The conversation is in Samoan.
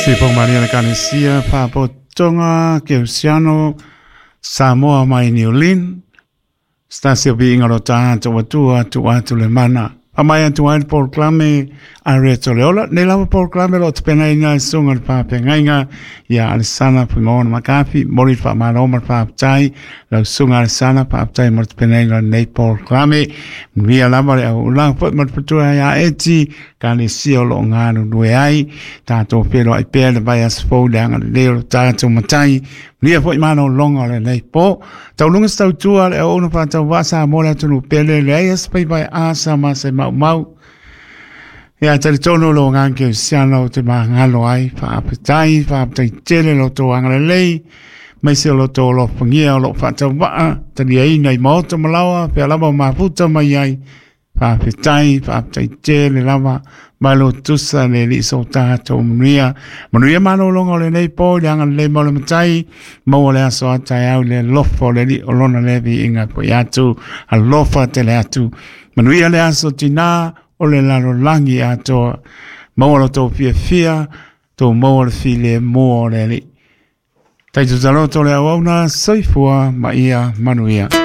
Se po maria le kanesia Fapotoga Keusiano Samoa mai Niulin Stasi o viiga lo tatou atua tuu atu le mana. Amai atu ai le polokalame a Reto Leola. Nei lava polokalame lo tapenaina e susuga le faafeagaiga ia Alesana Fuimaono Makafi. Moli le faamalo ma le faafetai lau susuga Alesana, faafetai mo le tapenaina o lenei polokalame. Manuia lava le auaunaga foi ma le faletua ia Eti, kalesia o lo o galulue ai. Tatou feiloai pea le vaiaso fou i le agalelei o lo tatou Matai. Manuia foi malologa o lenei po. Tauluga se tautua le auauna faatauvaa Samoa le atunuu pele, leai se faiva e asa ma se maumau. Ia talitonu lo agaga kerisiano ou te magalo ai, faafetai, faafetai tele lo outou agalelei, maise o lo outou alofagia o loo faatauvaa, taliaina i maota ma laoa, fea lava o mafuta mai ai. Faafetai, faafetai tele lava, malo tusa le alii so tatou manuia. Manuia malologa o lenei po i le agalelei ma le Matai, maua le aso a taeao i le alofa o le Alii o lona lea viiga foi atu, alofa tele atu. Manuia le aso tinā o le lalolagi atoa, maua lo tou fiafia, tou maua le filemu o le Alii. Taito taloto le auauna, soifua ma ia manuia.